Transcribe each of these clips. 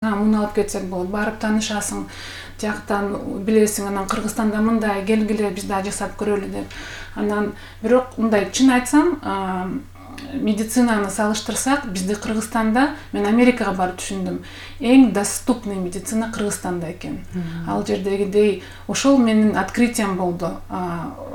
муну алып кетсек болот, барып таанышасың, жактан билесиң, анан Кыргызстанда мындай келгиле биз да жасап көрөлү деп. Анан бирок мындай чын айтсам, медицинаны салыштырсак, бизде Кыргызстанда, мен Америкага барып түшүндүм, эң доступный медицина Кыргызстанда экен. Ал жердегидей ошол менин открытием болду.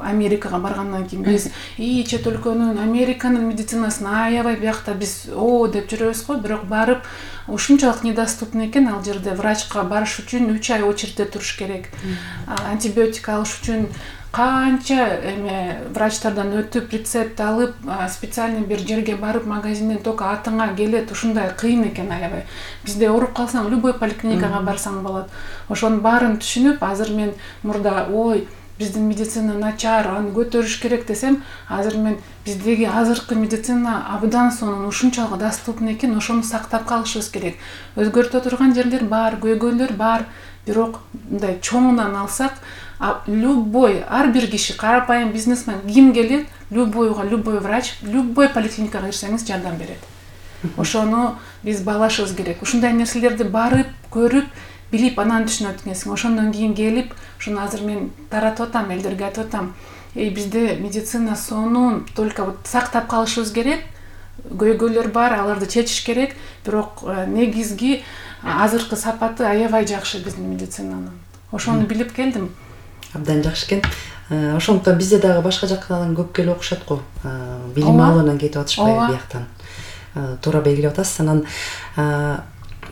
Америкага баргандан кийин биз чет өлкөнүн, Американын медицинасын аябай биякта биз деп жүрөбүз го, бирок барып ушунчалык недоступный экен. Ал жерде врачка барыш үчүн 3 ай очередде туруш керек. Антибиотик алыш үчүн канча врачтардан өтүп, рецепт алып, специальный бир жерге барып, магазинден только атыңа келет, ушундай кыйын экен аябай. Бизде ооруп калсаң, любой поликлиникага барсаң болот. Ошонун баарын түшүнүп, азыр мен мурда биздин медицина начар, аны көтөрүш керек десем, азыр мен биздеги азыркы медицина абдан сонун ушунчалык доступный экен, ошону сактап калышыбыз керек. Өзгөртө турган жерлер бар, көйгөйлөр бар, бирок мындай чоңунан алсак, любой, ар бир киши, карапайым бизнесмен ким келет, любой врач, любой поликлиникага кирсеңиз жардам берет. Ошону биз баалашыбыз керек. Ушундай нерселерди барып, көрүп, билип, анан түшүнөт экенсиң. Ошондон кийин келип, ушуну азыр мен таратып атам, элдерге айтып атам. Бизде медицина сонун, только сактап калышыбыз керек. Көйгөйлөр бар, аларды чечиш керек, бирок негизги азыркы сапаты аябай жакшы биздин медицинанын. Ошону билип келдим. Абдан жакшы экен. Ошондуктан бизде дагы башка жактан көп келип окушат го. Билим алуудан кетип атышпайбы бияктан. Туура белгилеп атасыз. Анан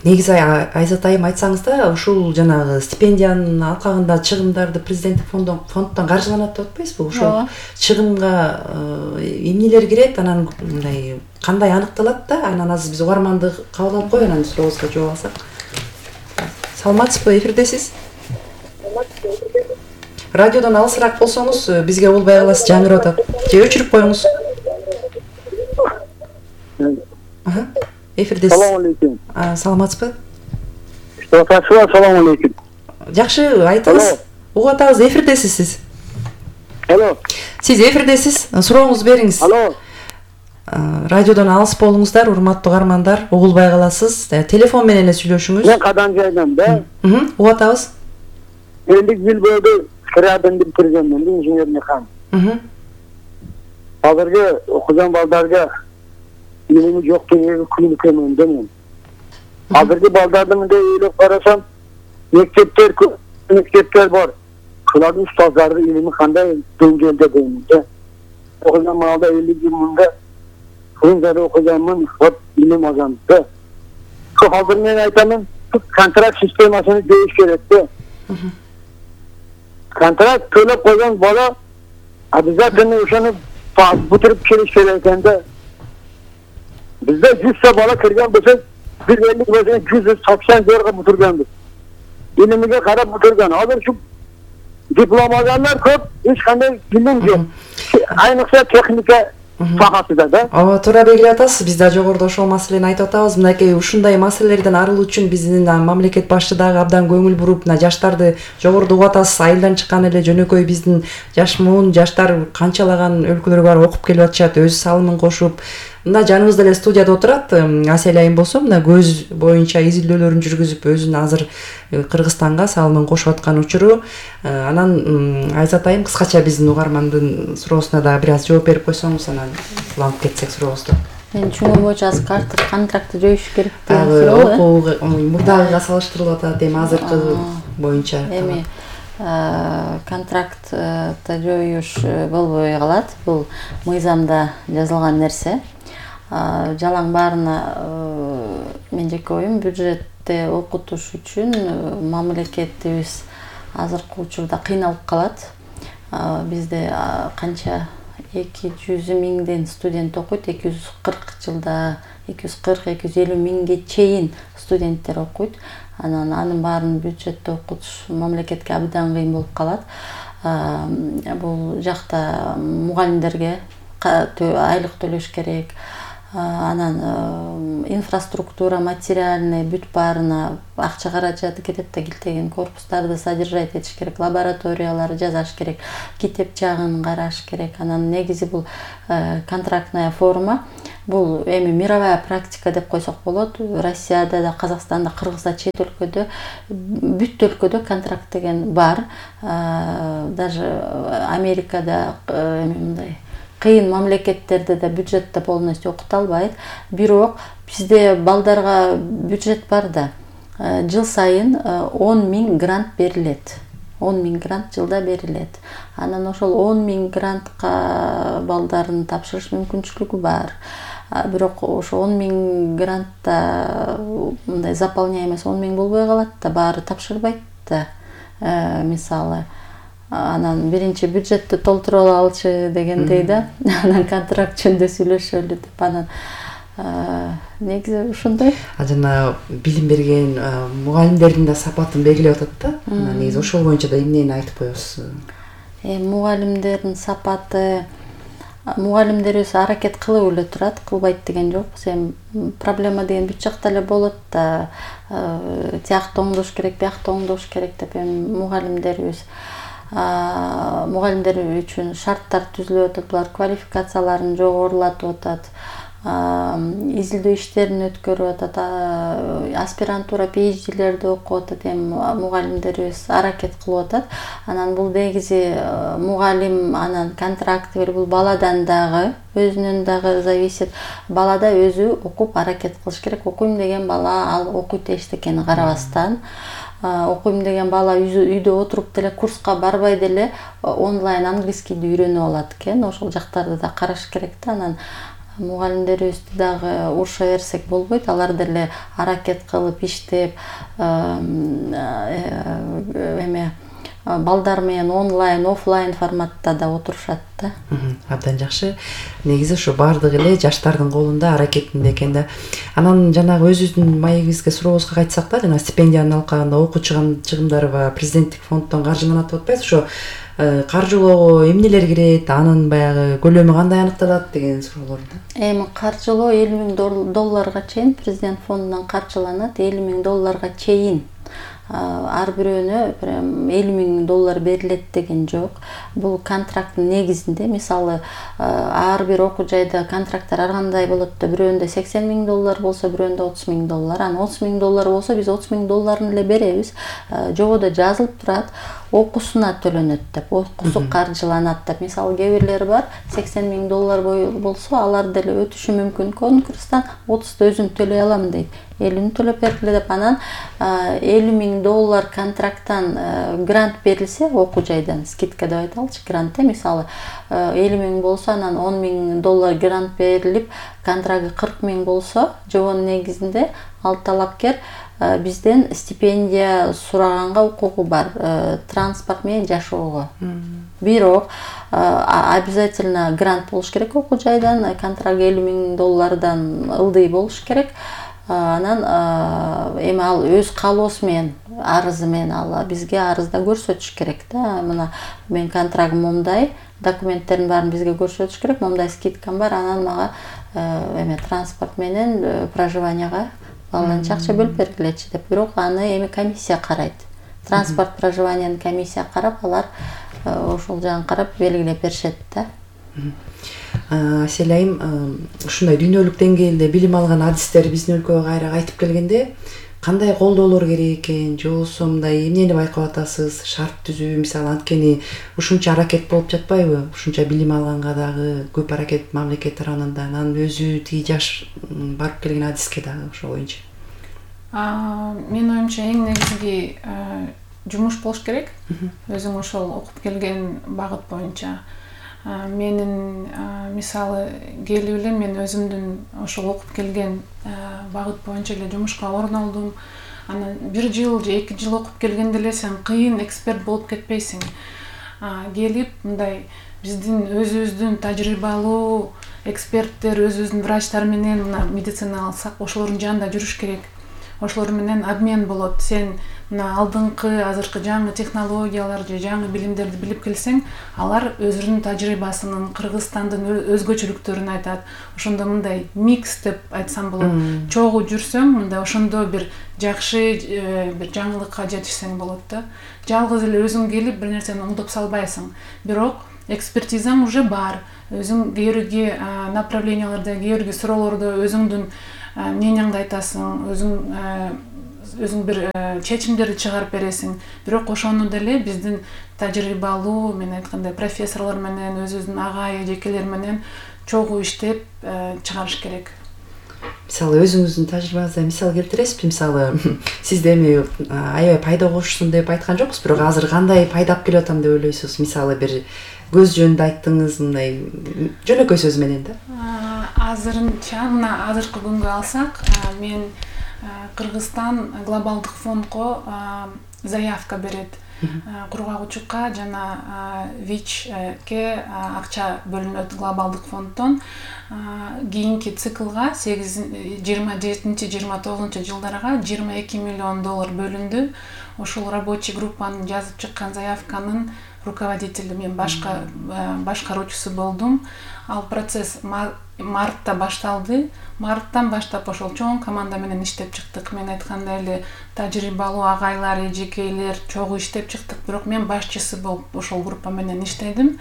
негизи Айзат айым айтсаңыз да, ушул жанагы стипендиянын алкагында чыгымдарды президенттик фонддон каржыланат деп атпайсызбы? Ошол чыгымга эмнелер кирет, анан мындай кандай аныкталат да, анан азыр биз угарманды кабыл алып коюп, анан сурообузга жооп алсак. Саламатсызбы, эфирдесиз? Радиодон алысыраак болсоңуз бизге болбой каласыз, жаңырып атат. Же өчүрүп коюңуз. Эфирдесиз. Салам алейкум. Саламатсызбы? Салам алейкум. Жакшы, айтыңыз. Угуп атабыз, эфирдесиз сиз. Алло. Сиз эфирдесиз. Сурооңузду бериңиз. Алло. Радиодон алыс болуңуздар, урматтуу угармандар, угулбай каласыз. Телефон менен эле сүйлөшүңүз. Мен Кадан жайдан да. Угуп атабыз. 50 жыл бойду кыраадан биткиргенмин, инженер механик. Азыркы окуган балдарга илими жок дегенге күнүкөмөн да мен. Азыркы балдарды мындай ойлоп карасам, мектептер бар. Шулардын устаздары илими кандай деңгээлде дейм да. Окуган маалда 50 жыл мында фрунзада окуганмын, вот илим алгам да. Азыр мен айтамын, контракт системасыны жойуш керек да. Контракт төлөп койгон бала обязательно ошону бүтүрүп келиш керек экен да. Bizde 100 bala kırgan bolsa, bir belli bolsa 180 jorga бүтүргөнбүз. Илимиге карап бүтүргөн. Азыр şu диплом алгандар көп, эч кандай билим жок. Айныкса техника сахасында да. Ооба, туура белгилеп атасыз. Биз да жогоруда ошол маселени айтып атабыз. Мынакей ушундай маселелерден арылуу үчүн биздин мамлекет башчы дагы абдан көңүл буруп, жаштарды жогоруда угуп атасыз. Айылдан чыккан эле жөнөкөй биздин жаш муун жаштар канчалаган өлкөлөр бар окуп келип атышат, өз салымын кошуп. Мына жаныбызда эле студияда отурат Асель айым болсо, мына көз боюнча изилдөөлөрүн жүргүзүп, өзүнүн азыр Кыргызстанга салымын кошуп аткан учуру. Анан Айзат айым кыскача биздин угармандын суроосуна да бир аз жооп берип койсоңуз, анан уланып кетсек сурообузду. Мен түшүнгөн боюнча азыр контрактты жоюш керек деген суроо. Мурдагыга салыштырылып атат, эми азыркы боюнча. Эми контрактты жоюш болбой калат. Бул мыйзамда жазылган нерсе. Жалаң баарына мен жеке оюм бюджетте окутуш үчүн мамлекетибиз азыркы учурда кыйналып калат. Бизде канча 200 миңден студент окуйт, 240 жылда 240-250 миңге чейин студенттер окуйт. Анын баарын бюджетте окутуш мамлекетке абдан кыйын болуп калат. Бул жакта мугалимдерге айлык төлөш керек. анан инфраструктура материальный бүт баарына акча каражаты кетет да, килтеген корпустарды содержать этиш керек, лабораторияларды жасаш керек, китеп жагын караш керек. Анан негизи бул контрактная форма, бул эми мировая практика деп койсок болот. Россияда да, Казакстанда, Кыргызда, чет өлкөдө, бүт өлкөдө контракт деген бар. Даже Америкада мындай кыйын мамлекеттерде да бюджетте полностью окуталбайт. Бирок бизде балдарга бюджет бар да. Жыл сайын 10 000 грант берилет. 10 000 грант жылда берилет. Анан ошол 10 000 грантка балдарын тапшырыш мүмкүнчүлүгү бар. Бирок ошо 10 000 грантта мындай заполняемость 10 000 болбой калат да, баары тапшырбайт да. Мисалы анан биринчи бюджетти толтура алчы дегендей да. Анан контракт жөнүндө сүйлөшөлү деп. Анан негизи ушундай. Жана билим берген мугалимдердин да сапатын белгилеп атат да. Негизи ошол боюнча да эмнени айтып коесуз? Мугалимдердин сапаты, мугалимдерибиз аракет кылып эле турат, кылбайт деген жокпуз. Эми проблема деген бүт жакта эле болот да. Тиякта оңдош керек, биякта оңдош керек деп эми мугалимдерибиз мугалимдер үчүн шарттар түзүлүп атат, булар квалификацияларын жогорулатып атат, изилдөө иштерин өткөрүп атат, аспирантура, PhD'лерди окуп атат, эми мугалимдерибиз аракет кылып атат. Анан бул негизи мугалим анан контракты бул баладан дагы, өзүнөн дагы зависит. Балада өзү окуп аракет кылыш керек. Окуйм деген бала ал окуйт эчтекени карабастан, окуйм деген бала үйдө отуруп деле курска барбай деле онлайн английскийди үйрөнүп алат экен. Ошол жактарды да караш керек да. Анан мугалимдерибизди дагы уруша берсек болбойт. Алар деле аракет кылып иштеп, эме балдар менен онлайн, офлайн форматта да отурушат да. Абдан жакшы. Негизи ушу баардыгы эле жаштардын колунда, аракетинде экен да. Анан жанагы өзүбүздүн маегибизге сурообузга кайтсак да, жана стипендияны алкаганда окуу чыгымдарыбы президенттик фонддон каржыланат деп атпайбыз. Ошо каржылоого эмнелер кирет, анын баягы көлөмү кандай аныкталат деген суроолорду. Эми каржылоо $50,000 чейин президент фондунан каржыланат. $50,000 чейин. Ар бирөөнө $50,000 берилет деген жок. Бул контракттын негизинде, мисалы, ар бир окуу жайда контракттар ар кандай болот да, бирөөндө $80,000 болсо, бирөөндө $30,000. Анан $30,000 болсо, биз $30,000 эле беребиз. Жогодо жазылып турат, окуусуна төлөнөт деп, окуусу каржыланат деп. Мисалы, кээ бирлери бар, $80,000 болсо, алар деле өтүшү мүмкүн конкурстан, 30-ты өзүм төлөй алам дейт. 50-ни төлөп бергиле деп. Анан $50,000 контракттан грант берилсе, окуу жайдан скидка деп айталычы, грант. Мисалы, $50,000 болсо, анан $10,000 грант берилип, контрагы $40,000 болсо, жобонун негизинде ал талапкер бизден стипендия сураганга укугу бар, транспорт менен жашоого. Бирок обязательно грант болуш керек окуу жайдан, контракт $50,000 ылдый болуш керек. Анан эми ал өз каалоосу менен, арызы менен ал бизге арызда көрсөтүш керек да. Мына мен контрагым момдай, документтердин баарын бизге көрсөтүш керек, момдай скидкам бар, анан мага эме транспорт менен проживанияга баланча акча бөлүп бергилечи деп. Бирок аны эми комиссия карайт. Транспорт, проживаниянын комиссия карап, алар ошол жагын карап белгилеп беришет да. Аселайым, ушундай дүйнөлүк деңгээлде билим алган адистер биздин өлкөгө кайра кайтып келгенде кандай колдоолор керек экен, же болбосо мындай эмнени байкап атасыз, шарт түзүү, мисалы, анткени ушунча аракет болуп жатпайбы? Ушунча билим алганга дагы көп аракет мамлекет тарабынан да, анан өзү тиги жаш барып келген адиске дагы ошол боюнча. Менин оюмча эң негизги жумуш болуш керек. Өзүң ошол окуп келген багыт боюнча. Менин мисалы келип эле мен өзүмдүн ошол окуп келген багыт боюнча эле жумушка орун алдым. Анан 1 жыл же 2 жыл окуп келгенде эле сен кыйын эксперт болуп кетпейсиң. Келип мындай биздин өзүбүздүн тажрыйбалуу эксперттер, өзүбүздүн врачтар менен медицина алсак, ошолордун жанында жүрүш керек. ошолор менен обмен болот. Сен мына алдыңкы азыркы жаңы технологиялар же жаңы билимдерди билип келсең, алар өзүнүн тажрыйбасынын, Кыргызстандын өзгөчөлүктөрүн айтат. Ошондо мындай микс деп айтсам болот. Чогуу жүрсөң, мындай ошондо бир жакшы бир жаңылыкка жетишсең болот да. Жалгыз эле өзүң келип бир нерсени оңдоп салбайсың. Бирок экспертизаң уже бар. Өзүң кээ направленияларда, кээ суроолордо өзүңдүн мнениеңди айтасың, өзүң бир чечимдерди чыгарып бересиң. Бирок ошону деле биздин тажрыйбалуу, мен айткандай профессорлор менен, өзүбүздүн агай эжекелер менен чогуу иштеп чыгарыш керек. Мисалы өзүңүздүн тажрыйбаңыздан мисал келтиресизби? Мисалы сизде эми аябай пайда кошсун деп айткан жокпуз, бирок азыр кандай пайда алып келип атам деп ойлойсуз? Мисалы бир көз жөнүндө айттыңыз, мындай жөнөкөй сөз менен да. Азырынча мына азыркы күнгө алсак, мен Кыргызстан глобалдык фондго заявка берет. Кургагучукка жана ВИЧке акча бөлүнөт глобалдык фонддон. Кийинки циклга 27-29 жылдарга $22 миллион бөлүндү. Ошол рабочий группанын жазып чыккан заявканын руководителі, мен башкаруучусу болдум. Ал процесс мартта башталды. Марттан баштап ошол чоң команда менен иштеп чыктык. Мен айткандай эле тажрыйбалуу агайлар, эжекейлер чогуу иштеп чыктык, бирок мен башчысы болуп ошол группа менен иштедим.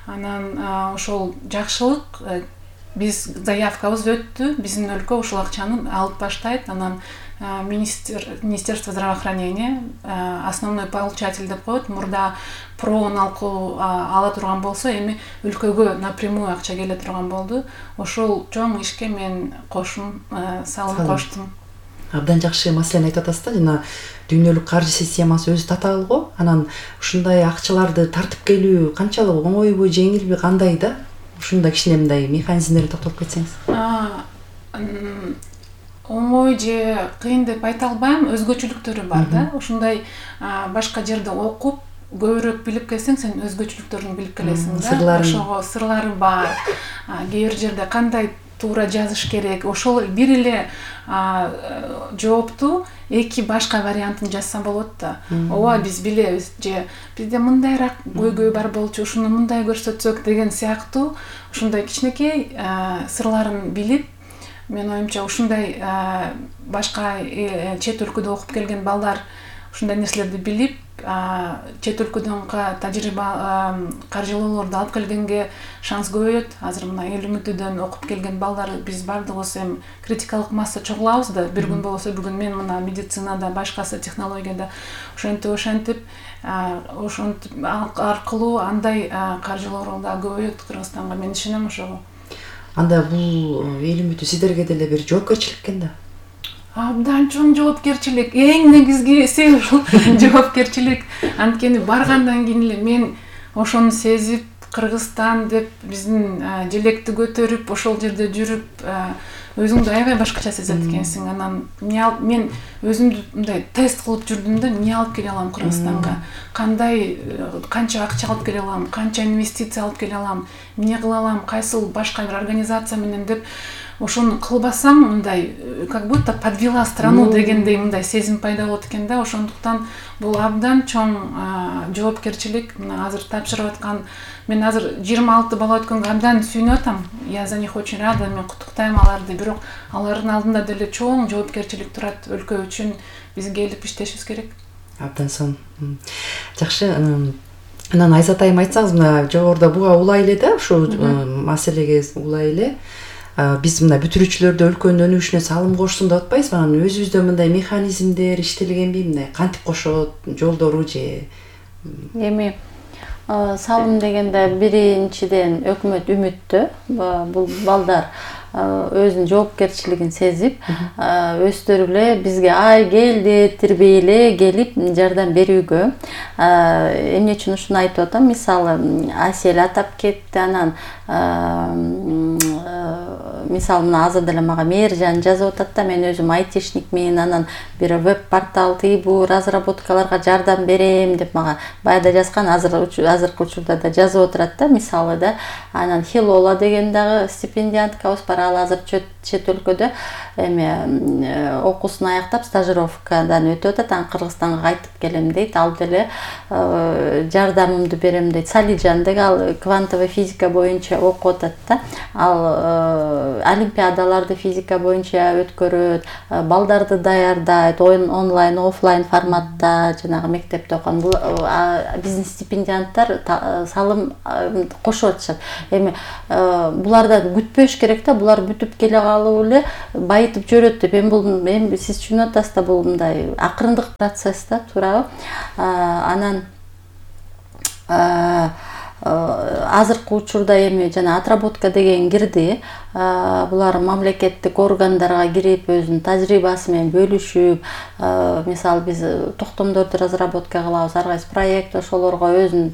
Анан ошол жакшылык, биз заявкабыз өттү, биздин өлкө ушул акчаны алып баштайт. Анан Министерство здравоохранения основной получатель деп коет. Мурда проон ала турган болсо, эми өлкөгө напрямую акча келе турган болду. Ошол чоң ишке мен салым коштум. Абдан жакшы маселени айтып атасыз да, жана дүйнөлүк каржы системасы өзү татаал го. Анан ушундай акчаларды тартып келүү канчалык оңойбу, жеңилби, кандай да? Ушундай кичине мындай механизмдерди токтолуп кетсеңиз. Оңой же кыйын деп айта албайм, өзгөчөлүктөрү бар да. Ушундай башка жерде окуп, көбүрөөк билип келсең, сен өзгөчөлүктөрүн билип келесиң да. Ошого сырлары бар. Кээ бир жерде кандай туура жазыш керек, ошол бир эле жоопту эки башка вариантын жазса болот да. Ооба биз билебиз, же бизде мындайраак көйгөй бар болчу, ушуну мындай көрсөтсөк деген сыяктуу ушундай кичинекей сырларын билип, мен оюмча ушундай башка чет өлкөдө окуп келген балдар ушундай нерселерди билип, чет өлкөдөн тажрыйба каржылоолорду алып келгенге шанс көбөйөт. Азыр мына эл үмүтүдөн окуп келген балдар биз бардыгыбыз эми критикалык масса чогулабыз да. Бир күн болсо бүгүн мен мына медицинада, башкасы технологияда ошентип аркылуу андай каржылоолор да көбөйөт Кыргызстанга. Мен ишенем ошого. Анда бул эл үмүтү сиздерге деле бир жоопкерчилик экен да. Абдан чоң жоопкерчилик, эң негизгиси ушул жоопкерчилик. Анткени баргандан кийин эле мен ошону сезип, Кыргызстан деп биздин желекти көтөрүп, ошол жерде жүрүп, өзүңдү аябай башкача сезет экенсиң. Анан мен өзүмдү мындай тест кылып жүрдүм да, эмне алып келе алам Кыргызстанга, канча акча алып келе алам, канча инвестиция алып келе алам, эмне кыла алам, кайсыл башка бир организация менен деп. Ошону кылбасам, мындай как будто подвела страну дегендей мындай сезим пайда болот экен да. Ошондуктан бул абдан чоң жоопкерчилик. Мына азыр тапшырып аткан, мен азыр 26 бала өткөнгө абдан сүйүнүп атам. Я за них очень рада, мен куттуктайм аларды. Бирок алардын алдында деле чоң жоопкерчилик турат. Өлкө үчүн биз келип иштешибиз керек. Абдан сонун. Жакшы. Анан Айзат айым айтсаңыз, мына жогоруда буга улай эле да, ушу маселеге улай эле. Биз мына бүтүрүүчүлөрдө өлкөнүн өнүгүшүнө салым кошсун деп атпайбызбы? Анан өзүбүздө мындай механизмдер иштелгенби, мындай кантип кошот, жолдору же? Эми салым дегенде биринчиден өкмөт үмүттүү. Бул балдар өзүнүн жоопкерчилигин сезип, өздөрү эле бизге келди, тирбей эле келип жардам берүүгө. Эмне үчүн ушуну айтып атам? Мисалы, Асель атап кетти, анан мисалы мына азыр деле мага Мээржан жазып атат да, мен өзүм айтишникмин, анан бир веб портал тыйбу разработкаларга жардам берем деп мага баягы жазган, азыркы учурда да жазып отурат да, мисалы да. Анан Хилола деген дагы стипендианткабыз бар, ал азыр чет өлкөдө эме окуусун аяктап стажировкадан өтүп атат, анан Кыргызстанга кайтып келем дейт, ал деле жардамымды берем дейт. Салижан деген ал квантовый физика боюнча окуп атат да, ал олимпиадаларды физика боюнча өткөрөт, балдарды даярдайт, онлайн офлайн форматта, жанагы мектепте окуган. Бул биздин стипендианттар салым кошуп атышат. Эми булардан күтпөш керек да, булар бүтүп келе калып эле байытып жөрөт деп. Эми сиз түшүнүп атасыз да, бул мындай акырындык процесс да, туурабы? Анан азыркы учурда эми жана отработка деген кирди. Булар мамлекеттик органдарга кирип өзүнүн тажрыйбасы менен бөлүшүп, мисалы биз токтомдорду разработка кылабыз, ар кайсы проект ошолорго өзүнүн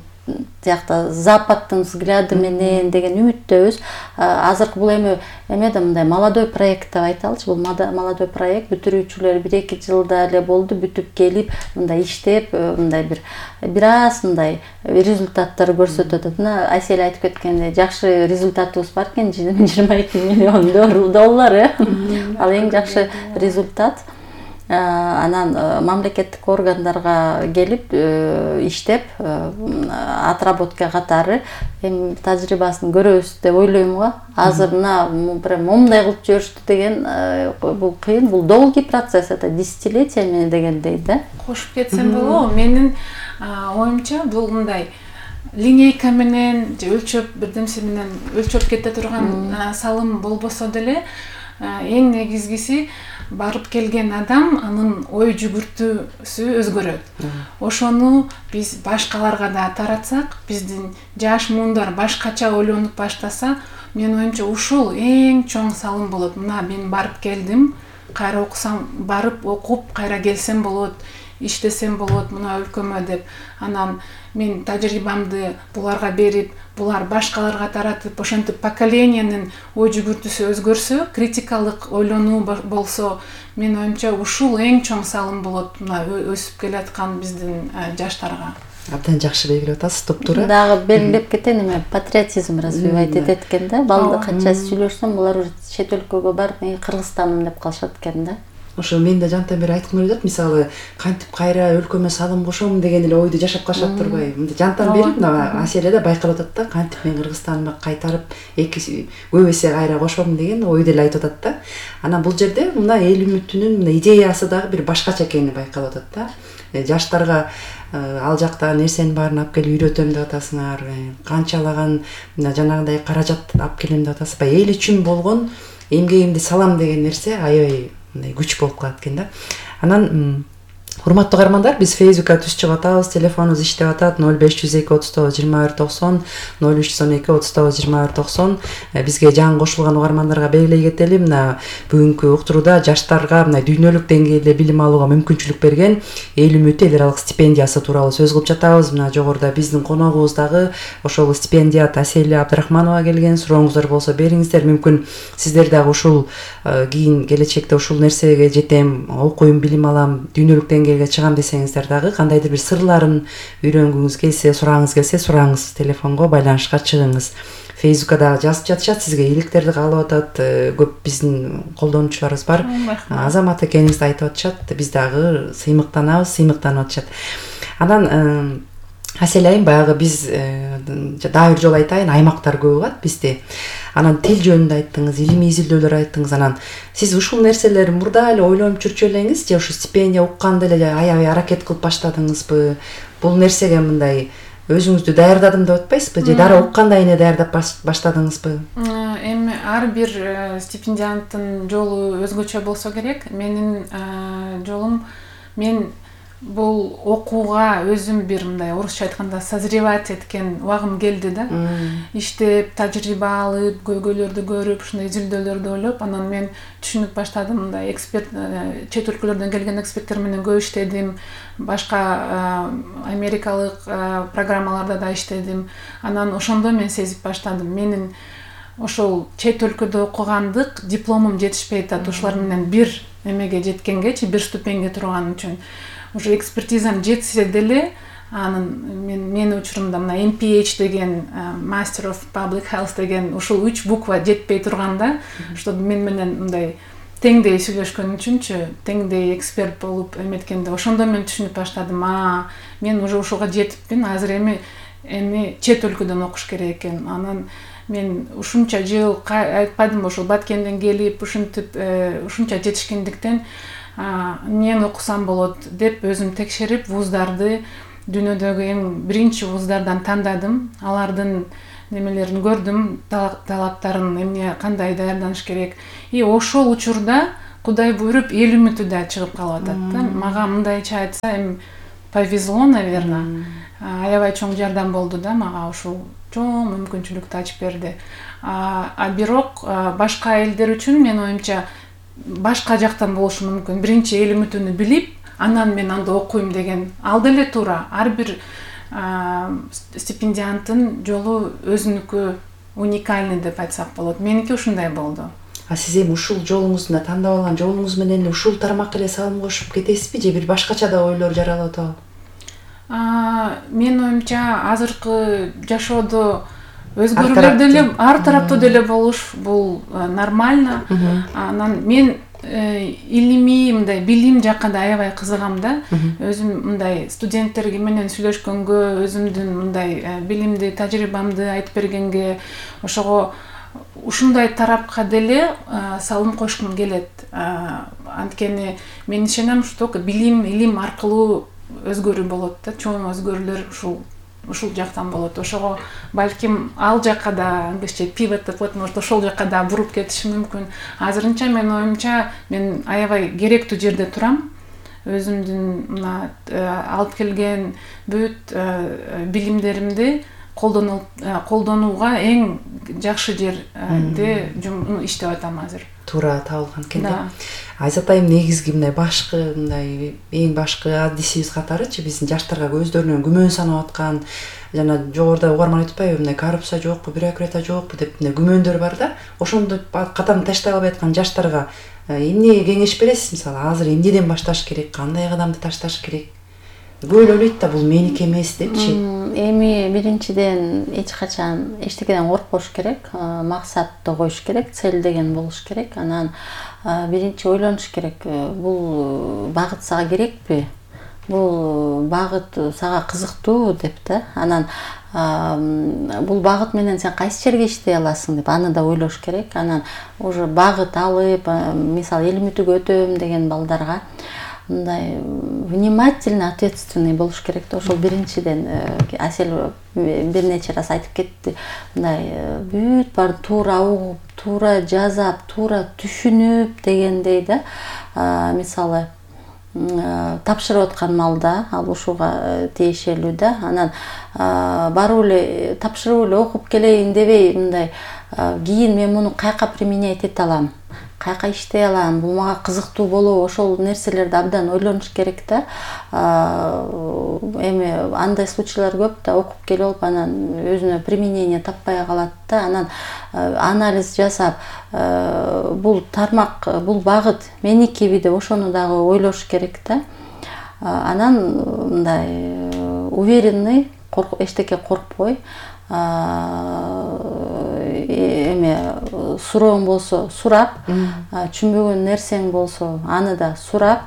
тиякта западтын взгляды менен деген үмүттөбүз. Азыркы бул эме да мындай молодой проект деп айталычы. Бул молодой проект бүтүрүүчүлөр 1-2 жылда эле болду, бүтүп келип мындай иштеп, мындай бир аз мындай результаттар көрсөтүп атат. Мына Айсель айтып кеткендей, жакшы результатыбыз бар экен, 22 миллион доллар. Ал эң жакшы результат. Анан мамлекеттик органдарга келип иштеп, отработка катары эми тажрыйбасын көрөбүз деп ойлойм го. Азыр прям момундай кылып жиберишти деген бул кыйын, бул долгий процесс, это десятилетиями дегендей да. Кошуп кетсем болобу? Менин оюмча бул мындай линейка менен же өлчөп бирдемсе менен өлчөп кете турган салым болбосо деле, эң негизгиси барып келген адам анын ой жүгүртүүсү өзгөрөт. Ошону биз башкаларга да таратсак, биздин жаш муундар башкача ойлонуп баштаса, мен оюмча ушул эң чоң салым болот. Мына мен барып келдим, кайра окусам, барып окуп кайра келсем болот, иштесем болот мына өлкөмө деп. Анан мен тажрыйбамды буларга берип, булар башкаларга таратып, ошентип поколенияның ой жүгүртүүсү өзгөрсө, критикалык ойлонуу болсо, мен оюмча ушул эң чоң салым болот мына өсүп келаткан биздин жаштарга. Абдан жакшы белгилеп атасыз, топтуура. Дагы белгилеп кетейин, эми патриотизм развивать этет экен да. Балды канча сүйлөшсөм, булар уже чет өлкөгө барып, мен Кыргызстаным деп калышат экен да. Ошо мен да жантан бери айткым келип атат, мисалы кантип кайра өлкөмө салым кошом деген эле ойду жашап калышат турбайбы? Мындай жантан бери мына Аселе да байкалып атат да, кантип мен Кыргызстаныма кайтарып көп эсе кайра кошом деген ойду эле айтып атат да. Анан бул жерде мына эл үмүтүнүн мына идеясы дагы бир башкача экени байкалып атат да. Жаштарга ал жакта нерсенин баарын алып келип үйрөтөм деп атасыңар, канчалаган жанагындай каражат алып келем деп атасыз. Эл үчүн болгон эмгегимди салам деген нерсе аябай күч болуп калат экен да. Анан урматтуу каармандар, биз Фейсбукка түз чыгып атабыз, телефонубуз иштеп атат 0502 39 21 90, 0312 39 21 90. Бизге жаңы кошулган угармандарга белгилей кетели, мына бүгүнкү уктурууда жаштарга мына дүйнөлүк деңгээлде билим алууга мүмкүнчүлүк берген эл үмүтү эл аралык стипендиясы тууралуу сөз кылып жатабыз. Мына жогоруда биздин коногубуз дагы ошол стипендият Асель Абдрахманова келген. Сурооңуздар болсо бериңиздер, мүмкүн сиздер дагы ушул кийин келечекте ушул нерсеге жетем, окуйм, билим алам, дүйнөлүк деңгээлге чыгам десеңиздер дагы, кандайдыр бир сырларын үйрөнгүңүз келсе, сурагыңыз келсе, сураңыз, телефонго байланышка чыгыңыз. Фейсбукка дагы жазып жатышат, сизге ийгиликтерди каалап атат, көп биздин колдонуучуларыбыз бар. Азамат экениңизди айтып атышат, биз дагы сыймыктанабыз, сыймыктанып атышат. Анан Асель айым, баягы биз дагы бир жолу айтайын, аймактар көп угат бизде. Анан тил жөнүндө айттыңыз, илимий изилдөөлөр айттыңыз. Анан сиз ушул нерселерди мурда эле ойлонуп жүрчү элеңиз же ушу стипендия укканда эле аябай аракет кылып баштадыңызбы? Бул нерсеге мындай өзүңүздү даярдадым деп атпайсызбы же дара укканда эле даярдап баштадыңызбы? Эми ар бир стипендианттын жолу өзгөчө болсо керек. Менин жолум, мен бул окууга өзүм бир мындай орусча айтканда созревать эткен убагым келди да. Иштеп, тажрыйба алып, көйгөйлөрдү көрүп, ушундай изилдөөлөрдү ойлоп, анан мен түшүнүп баштадым. Мындай эксперт, чет өлкөлөрдөн келген эксперттер менен көп иштедим. Башка америкалык программаларда да иштедим. Анан ошондо мен сезип баштадым. Менин ошол чет өлкөдө окугандык дипломум жетишпей атат. Ошолар менен бир эмеге жеткенгечи, бир ступеньге турган үчүн уже экспертизам жетсе деле, анын менин учурумда мына MPH деген Master of Public Health деген ушул 3 буква жетпей турганда, что мен менен мындай теңдей сүйлөшкөн үчүнчү, теңдей эксперт болуп эметкенде, ошондо мен түшүнүп баштадым, мен уже ушуга жетипмин, азыр эми чет өлкөдөн окуш керек экен. Анан мен ушунча жыл айтпадым, ошол Баткенден келип ушинтип ушунча жетишкендиктен мен окусам болот деп өзүм текшерип, вуздарды дүйнөдөгү эң биринчи вуздардан тандадым. Алардын немелерин көрдүм, талаптарын, эмне кандай даярданыш керек. И ошол учурда Кудай буйруп эл үмүтү да чыгып калып атат да. Мага мындайча айтса, эми повезло, наверное. Аябай чоң жардам болду да мага, ушул чоң мүмкүнчүлүктү ачып берди. Бирок башка элдер үчүн мен оюмча башка жактан болушу мүмкүн. Биринчи эл үмүтүнү билип, анан мен анда окуйм деген ал деле туура. Ар бир стипендианттын жолу өзүнүкү уникальный деп айтсак болот. Меники ушундай болду. Сиз эми ушул жолуңузда тандап алган жолуңуз менен эле ушул тармакка эле салым кошуп кетесизби, же бир башкача да ойлор жаралып атабы? Мен оюмча азыркы жашоодо өзгөрүүлөр деле ар тараптуу деле болуш бул нормально. Анан мен илимий мындай билим жакка да аябай кызыгам да. Өзүм мындай студенттерге менен сүйлөшкөнгө, өзүмдүн мындай билимди, тажрыйбамды айтып бергенге, ошого ушундай тарапка деле салым кошкум келет. Анткени мен ишенем, что билим, илим аркылуу өзгөрүү болот да, чоң өзгөрүүлөр ушул жактан болот. Ошого балким ал жакка да англисче pivot деп коет, может ошол жакка да буруп кетиши мүмкүн. Азырынча мен оюмча мен аябай керектүү жерде турам. Өзүмдүн мына алып келген бүт билимдеримди колдонууга эң жакшы жерде иштеп атам азыр. Туура табылган экен да. Айзат айым негизги мындай эң башкы аддисибиз катарычы биздин жаштарга өздөрүнөн күмөн санап аткан, жана жогоруда угарман айтпайбы, мындай коррупция жокпу, бюрократия жокпу деп мындай күмөндөр бар да. Ошондо катам таштай албай аткан жаштарга эмне кеңеш бересиз? Мисалы, азыр эмнеден башташ керек, кандай кадамды ташташ керек? Көп эле ойлойт да, бул меники эмес депчи. Эми биринчиден эч качан эчтекеден коркпош керек, максатты коюш керек, цель деген болуш керек. Анан биринчи ойлонуш керек, бул багыт сага керекпи? Бул багыт сага кызыктуу деп да. Анан бул багыт менен сен кайсы жерге иштей аласың деп аны да ойлош керек. Анан уже багыт алып, мисалы эл үмүтүгө өтөм деген балдарга мындай внимательный, ответственный болуш керек да. Ошол биринчиден Асель бир нече раз айтып кетти. Мындай бүт бар туура угуп, туура жазап, туура түшүнүп дегендей да. Мисалы тапшырып аткан малда ал ушуга тиешелүү да. Анан барып эле тапшырып эле окуп келейин дебей, мындай кийин мен муну каяка применять эте алам, каяка иштей алам, бул мага кызыктуу болобу, ошол нерселерди абдан ойлонуш керек да. Эми андай случайлар көп да, окуп келип алып анан өзүнө применение таппай калат да. Анан анализ жасап, бул тармак, бул багыт меникиби деп ошону дагы ойлош керек да. Анан мындай уверенный, эчтеке коркпой, сурооң болсо сурап, түшүнбөгөн нерсең болсо аны да сурап,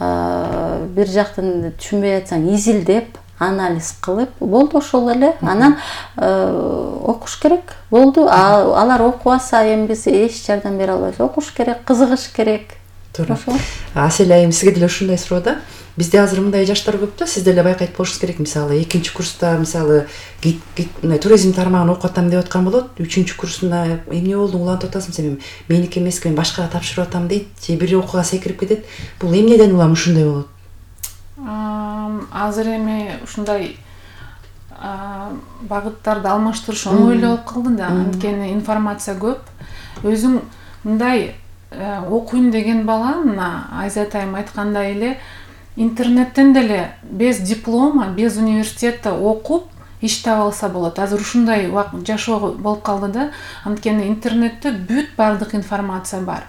бир жактан түшүнбөй атсаң изилдеп, анализ кылып, болду ошол эле. Анан окуш керек. Болду. Алар окубаса, эми биз эч жардам бере албайбыз. Окуш керек, кызыгыш керек. Туура. Асель айым, сизге деле ушундай суроо да. Бизде азыр мындай жаштар көп да, сиз деле байкайт болушуңуз керек. Мисалы, 2-курста мисалы туризм тармагын окуп атам деп аткан болот. 3-курсунда эмне болду, улантып атасың, сен меники эмес, мен башкага тапшырып атам дейт, же бир окууга секирип кетет. Бул эмнеден улам ушундай болот? Азыр эми ушундай багыттарды алмаштырыш оңой эле болуп калды да. Анткени информация көп. Өзүң мындай окуйм деген бала, мына Айзат айым айткандай эле интернеттен деле без диплома, без университетте окуп, иш таап алса болот. Азыр ушундай жашоо болуп калды да. Анткени интернетте бүт бардык информация бар.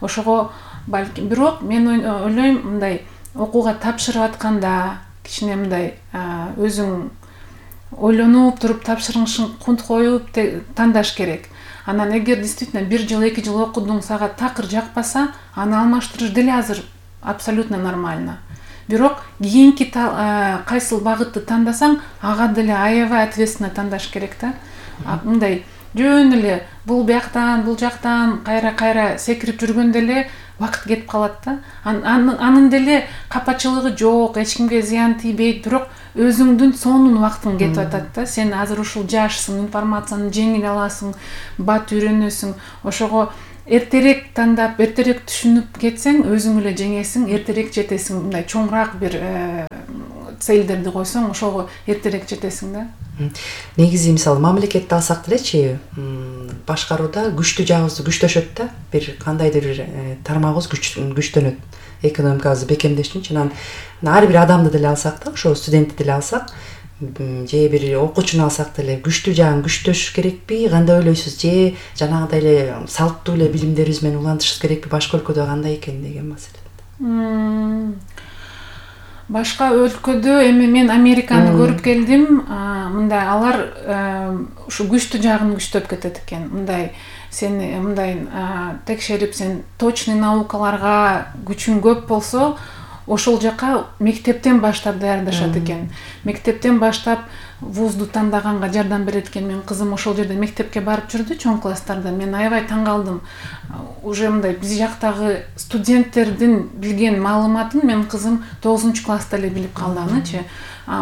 Ошого балким бирок мен ойлойм мындай окууга тапшырып атканда кичине мындай өзүң ойлонуп туруп тапшырышың кунт коюп тандаш керек. Анан эгер действительно 1 жыл 2 жыл окудуң, сага такыр жакпаса, аны алмаштырыш деле азыр абсолютно нормально. Бирок кийинки кайсыл багытты тандасаң, ага деле аябай ответственно тандаш керек да. Мындай жөн эле бул бияктан, бул жактан кайра секирип жүргөндө эле вакыт кетип калат да. Анын деле капачылыгы жок, эч кимге зыян тийбейт, бирок өзүңдүн сонун вакытың кетип атат да. Сен азыр ушул жашсың, информацияны жеңил аласың, бат үйрөнөсүң. Ошого эртерээк тандап, эртерээк түшүнүп кетсең, өзүң эле жеңесиң, эртерээк жетесиң. Мындай чоңураак бир целдерди койсоң, ошого эртерээк жетесиң да. Негизи мисалы мамлекетти алсак делечи, башкарууда күчтүү жагыбызды күчтөшөт да. Бир кандайдыр бир тармагыбыз күчтөнөт. Экономикабызды бекемдеш үчүн. Анан ар бир адамды деле алсак да, ошо студентти деле алсак, же бир окуучуну алсак деле күчтүү жагын күчтөш керекпи? Кандай ойлойсуз? Же жанагыдай эле салттуу эле билимдерибиз менен улантышыбыз керекпи? Башка өлкөдө кандай экен деген маселе. Башка өлкөдө эми мен Американы көрүп келдим. Мындай алар ушу күчтүү жагын күчтөп кетет экен. Мындай сен мындай текшерип, сен точный наукаларга күчүң көп болсо, ошол жака мектептен баштап даярдашат экен. Мектептен баштап вузду тандаганга жардам берет экен. Менин кызым ошол жерде мектепке барып жүрдү, чоң класстарда. Мен аябай таң калдым. Уже мындай биз жактагы студенттердин билген маалыматын менин кызым 9-класста эле билип калды анычы.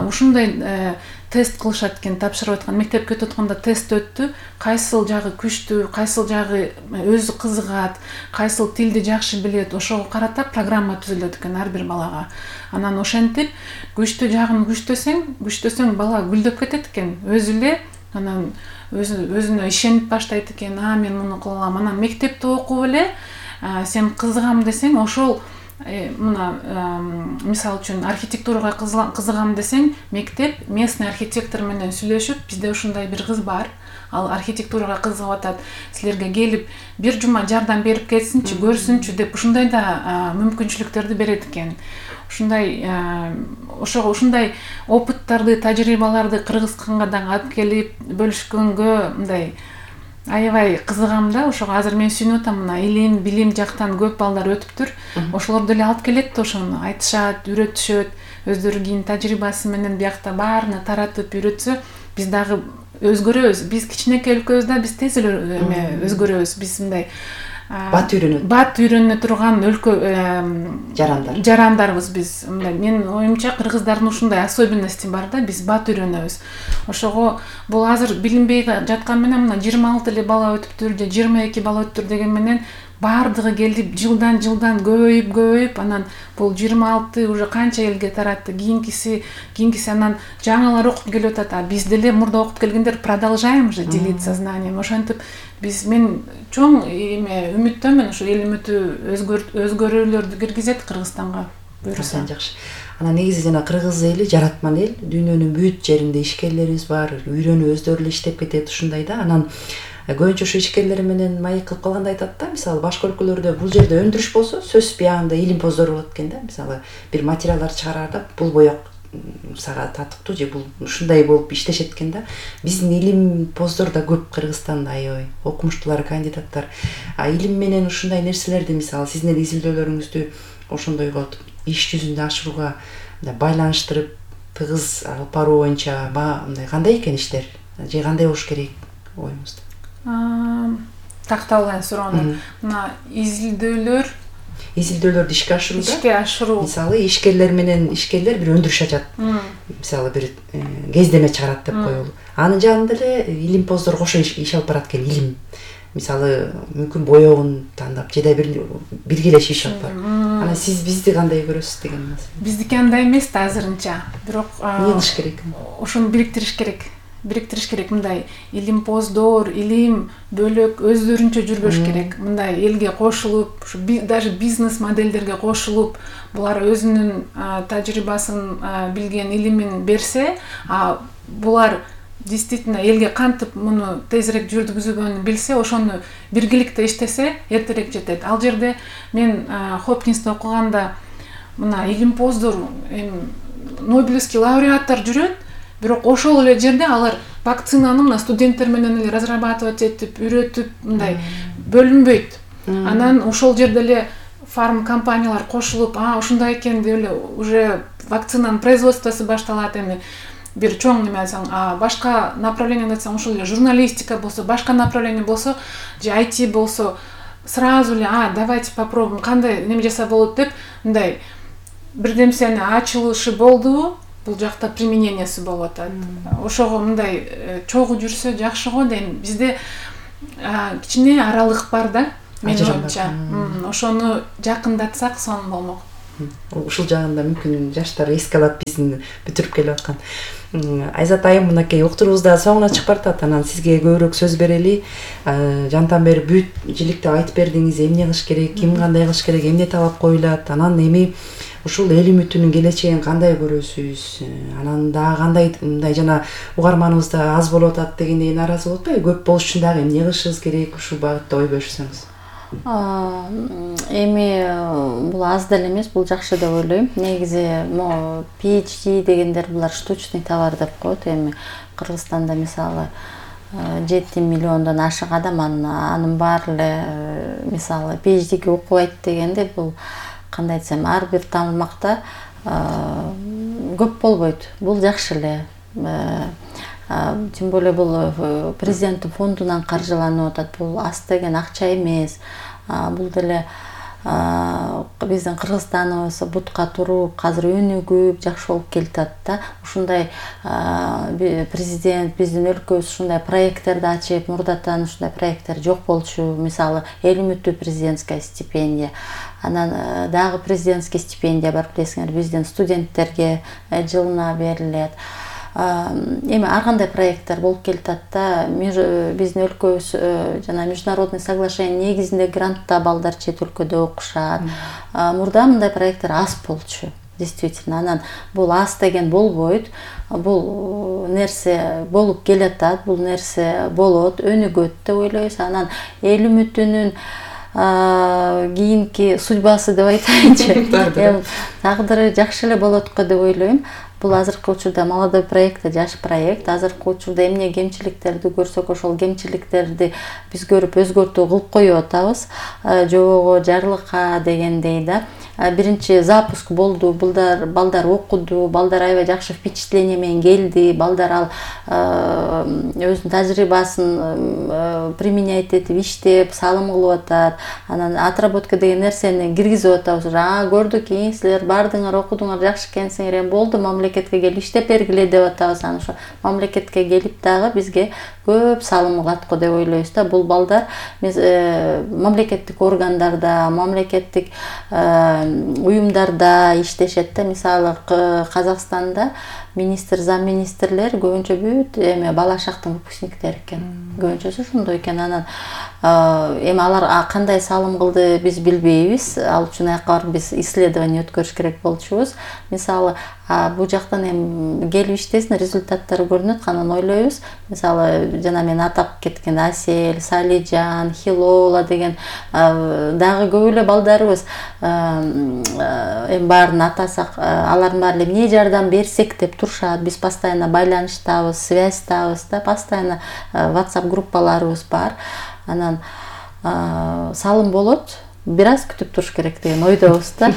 Ушундай тест кылышат экен, тапшырып аткан, мектепке өтүп атканда тест өттү. Кайсыл жагы күчтүү, кайсыл жагы өзү кызыгат, кайсыл тилди жакшы билет, ошого карата программа түзүлөт экен ар бир балага. Анан ошентип күчтүү жагын күчтөсөң бала гүлдөп кетет экен. Өзү эле анан өзүнө ишенип баштайт экен. Мен муну кыла алам. Анан мектепте окуп эле сен кызыгам десең, ошол мына мисалы үчүн архитектурага кызыгам десең, мектеп местный архитектор менен сүйлөшүп, бизде ушундай бир кыз бар, ал архитектурага кызыгып атат, силерге келип бир жума жардам берип кетсинчи, көрсүнчү деп ушундай да мүмкүнчүлүктөрдү берет экен. Ошого ушундай опыттарды, тажрыйбаларды Кыргызстанга да алып келип бөлүшкөнгө мындай аябай кызыгам да. Ошого азыр мен сүйүнүп атам, мына илим, билим жактан көп балдар өтүптүр. Ошолор деле алып келет да, ошону айтышат, үйрөтүшөт, өздөрү кийин тажрыйбасы менен биякта баарына таратып үйрөтсө, биз дагы өзгөрөбүз. Биз кичинекей өлкөбүз да, биз тез эле өзгөрөбүз. Биз мындай бат үйрөнө турган өлкө жарандарбыз биз. Менин оюмча кыргыздардын ушундай особенности бар да, биз бат үйрөнөбүз. Ошого бул азыр билинбей жаткан менен мына 26 эле бала өтүптүр же 22 бала өтүптүр деген менен бардыгы келип жылдан көбөйүп, анан бул 26 уже канча элге таратты, кийинкиси анан жаңалар окуп келип атат. Биз деле мурда окуп келгендер продолжаем же делиться знанием. Ошентип мен чоң үмүттөмүн, ушу эл үмүтү өзгөрүүлөрдү киргизет Кыргызстанга буюрса. Жакшы. Анан негизи жана кыргыз эли жаратман эл, дүйнөнүн бүт жеринде ишкерлерибиз бар, үйрөнүп өздөрү эле иштеп кетет ушундай да. Анан көбүнчө ушу ишкерлер менен маек кылып калганда айтат да, мисалы башка өлкөлөрдө бул жерде өндүрүш болсо, сөзсүз биягында илим-поздор болот экен да. Мисалы бир материалдар чыгарарда бул боек сага татыктуу же бул ушундай болуп иштешет экен да. Биздин илим-поздор да көп Кыргызстанда, аябай окумуштуулар, кандидаттар. Илим менен ушундай нерселерди, мисалы сиздин изилдөөлөрүңүздү ошондойго иш жүзүндө ашырууга байланыштырып тыгыз алып баруу боюнча мындай кандай экен иштер? Же кандай болуш керек оюңузда? Такталган суроону. Мына изилдөөлөрдү ишке ашыруу. Мисалы ишкерлер бир өндүрүш ачат. Мисалы бир кездеме чыгарат деп коелу. Анын жанында эле илим-поздор кошо иш алып барат экен, илим. Мисалы мүмкүн боёгун тандап же да биргелешип иш алып барат. Анан сиз бизди кандай көрөсүз деген маселе? Биздики андай эмес да азырынча. Бирок эмне кылыш керек? Ошону бириктириш керек. бириктириш керек. Мындай илимпоздор, илим бөлөк өздөрүнчө жүрбөш керек. Мындай элге кошулуп, даже бизнес модельдерге кошулуп, булар өзүнүн тажрыйбасын, билген илимин берсе, булар действительно элге кантип муну тезирээк жүргүзүүгөнү билсе, ошону биргеликте иштесе, эртерээк жетет. Ал жерде мен Хопкинсте окуганда мына илимпоздор, Нобелевский лауреаттар жүрөт, бирок ошол эле жерде алар вакцинаны мына студенттер менен эле разрабатывать этип, үйрөтүп, мындай бөлүнбөйт. Анан ошол жерде эле фарм компаниялар кошулуп, ушундай экен деп эле уже вакцинанын производствосу башталат. Эми бир чоң неме айтсаң, башка направление айтсаң, ошол эле журналистика болсо, башка направление болсо, же IT болсо, сразу эле давайте попробуем, кандай неме жаса болот деп, мындай бирдемсени ачылышы болду, бул жакта применениясы болуп атат. Ошого мындай чогуу жүрсө жакшы го дейм. Бизде кичине аралык бар да, менин оюмча. Ошону жакындатсак сонун болмок. Ушул жагында мүмкүн жаштар эске алат биздин бүтүрүп келип аткан. Айзат айым, мынакей уктуруубузда соңуна чыгып баратат. Анан сизге көбүрөөк сөз берели. Жантан бери бүт жиликтеп айтып бердиңиз, эмне кылыш керек, ким кандай кылыш керек, эмне талап коюлат. Анан эми ушул эл үмүтүнүн келечегин кандай көрөсүз? Анан дагы кандай мындай жана угарманыбыз да аз болуп атат дегендей нааразы болуп атпайбы? Көп болуш үчүн дагы эмне кылышыбыз керек? Ушул багытта ой бөлүшсөңүз. Эми бул аз деле эмес, бул жакшы деп ойлойм. Негизи могу PhD дегендер булар штучный товар деп коет. Эми Кыргызстанда мисалы 7 миллиондон ашык адам анын баары эле мисалы PhD-ге окубайт дегенде, бул кандай айтсам, ар бир тармакта көп болбойт. Бул жакшы эле. Тем более бул президенттин фондунан каржыланып атат. Бул аз деген акча эмес. Бул деле биздин Кыргызстаныбыз бутка туруп, азыр өнүгүп, жакшы болуп келатат да. Ушундай президент биздин өлкөбүз ушундай проекттерди ачып, мурдатан ушундай проекттер жок болчу. Мисалы, эл үмүттүү президентская стипендия. Анан дагы президентский стипендия бар, билесиңер, биздин студенттерге жылына берилет. Эми ар кандай проекттер болуп келатат да. Биздин өлкөбүз жана международный соглашение негизинде грантта балдар чет өлкөдө окушат. Мурда мындай проекттер аз болчу, действительно. Анан бул аз деген болбойт. Бул нерсе болуп келатат, бул нерсе болот, өнүгөт деп ойлойбуз. Анан эл үмүтүнүн кийинки судьбасы деп айтайынчы, тагдыры жакшы эле болот го деп ойлойм. Бул азыркы учурда молодой проект, жаш проект. Азыркы учурда эмне кемчиликтерди көрсөк, ошол кемчиликтерди биз көрүп өзгөртүү кылып коюп атабыз. Жобого жарлыкка дегендей да. Биринчи запуск болду, балдар окуду, балдар аябай жакшы впечатление менен келди. Балдар ал өзүнүн тажрыйбасын применять этип, иштеп, салым кылып атат. Анан отработка деген нерсени киргизип атабыз. Көрдүк, силер бардыңар, окудуңар, жакшы экенсиңер, эми болду, мамлекетке келип иштеп бергиле деп атабыз. Анан ошо мамлекетке келип дагы бизге көп салым кылат го деп ойлойбуз да. Бул балдар мамлекеттик органдарда, мамлекеттик уюмдарда иштешет да. Мисалы, Казакстанда министр, замминистрлер көбүнчө бүт бала шактын выпускниктери экен. Көбүнчөсү ошондой экен. Анан эми алар кандай салым кылды биз билбейбиз. Ал үчүн аяка барып биз исследование өткөрүш керек болчубуз. Мисалы, бул жактан эми келип иштесин, результаттары көрүнөт, анан ойлойбуз. Мисалы, жана мен атап кеткен Асель, Салижан, Хилола деген дагы көп эле балдарыбыз эми баарын атасак, алардын баары эмне жардам берсек деп турушат. Биз постоянно байланыштабыз, связьтабыз да, постоянно WhatsApp группаларыбыз бар. Анан салым болот, бир аз күтүп туруш керек деген ойдобуз да.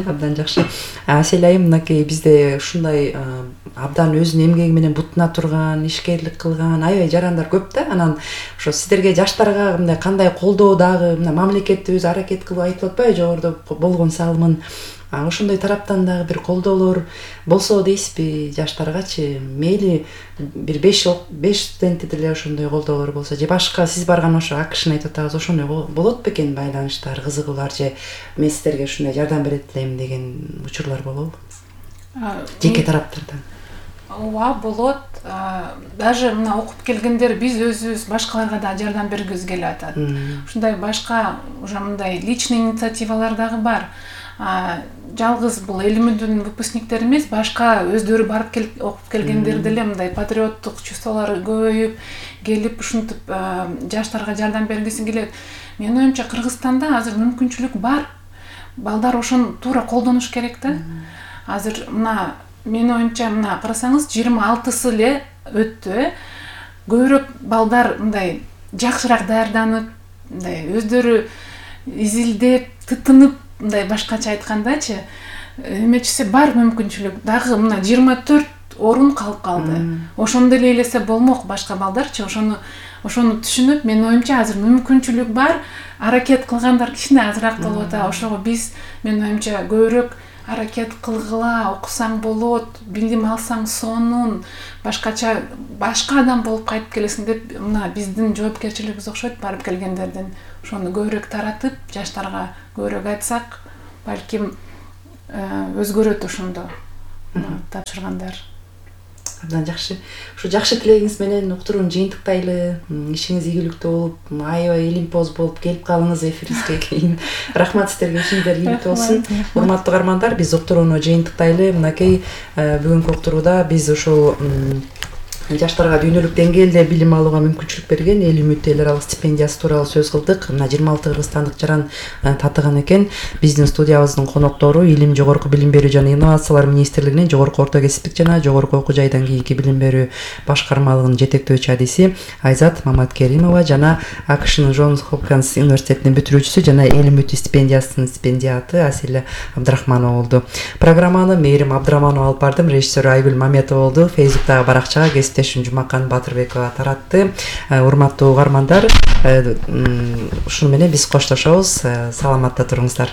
Абдан жакшы. Асель айым, мынакей бизде ушундай абдан өзүнүн эмгеги менен бутуна турган, ишкерлик кылган аябай жарандар көп да. Анан ошо сиздерге, жаштарга мындай кандай колдоо дагы мамлекет өзү аракет кылып айтып атпайбы, жогоруда болгон салымын ошондой тараптан дагы бир колдоолор болсо дейсизби жаштаргачы? Мейли бир 5 студентти деле ошондой колдоолор болсо, же башка сиз барган ошо акшын айтып атабыз, ошондой болот бекен, байланыштар, кызыгуулар, же мен сиздерге ушундай жардам берет элем деген учурлар болобу? Жеке тараптардан. Ооба болот. Даже мына окуп келгендер биз өзүбүз башкаларга да жардам бергибиз келип атат. Ушундай башка уже мындай личный инициативалар дагы бар. Жалгыз бул Элимүдүн выпускниктери эмес, башка өздөрү барып окуп келгендер деле мындай патриоттук чувстволору көбөйүп келип ушинтип жаштарга жардам бергиси келет. Менин оюмча Кыргызстанда азыр мүмкүнчүлүк бар. Балдар ошону туура колдонуш керек да. Азыр мына менин оюмча мына карасаңыз 26-сы эле өттү. Көбүрөөк балдар мындай жакшыраак даярданып, мындай өздөрү изилдеп, тытынып, мындай башкача айткандачы, эмечиси бар мүмкүнчүлүк. Дагы мына 24 орун калып калды. Ошону деле элесе болмок башка балдарчы, ошону түшүнүп, менин оюмча азыр мүмкүнчүлүк бар. Аракет кылгандар кичине азыраак болуп атат. Ошого биз менин оюмча көбүрөөк аракет кылгыла, окусаң болот, билим алсаң сонун, башкача башка адам болуп кайтып келесиң деп, мына биздин жоопкерчилигибиз окшойт барып келгендердин. Ошону көбүрөөк таратып, жаштарга көбүрөөк айтсак, балким өзгөрөт ошондо тапшыргандар. Абдан жакшы. Ушу жакшы тилегиңиз менен уктурууну жыйынтыктайлы. Ишиңиз ийгиликтүү болуп, аябай илимпоз болуп келип калыңыз эфирибизге кийин. Рахмат сиздерге, ишиңиздер ийгиликтүү болсун. Урматтуу каармандар, биз уктурууну жыйынтыктайлы. Мынакей бүгүнкү уктурууда биз ушул жаштарга дүйнөлүк деңгээлде билим алууга мүмкүнчүлүк берген Эл Үмүт эл аралык стипендиясы тууралуу сөз кылдык. Мына 26 кыргызстандык жаран татыган экен. Биздин студиябыздын коноктору Илим, жогорку билим берүү жана инновациялар министрлигинин жогорку орто кесиптик жана жогорку окуу жайдан кийинки билим берүү башкармалыгынын жетектөөчү адиси Айзат Маматкеримова жана АКШнын Джонс Хопкинс университетинин бүтүрүүчүсү жана Эл Үмүт стипендиясынын стипендиаты Аселя Абдрахманова болду. Программаны Мээрим Абдрахманова алып бардым, режиссер Айгүл Маметова болду. Фейсбуктагы баракчага Жумакан Батырбекова таратты. Урматтуу угармандар, ушуну менен биз коштошобуз. Саламатта туруңуздар.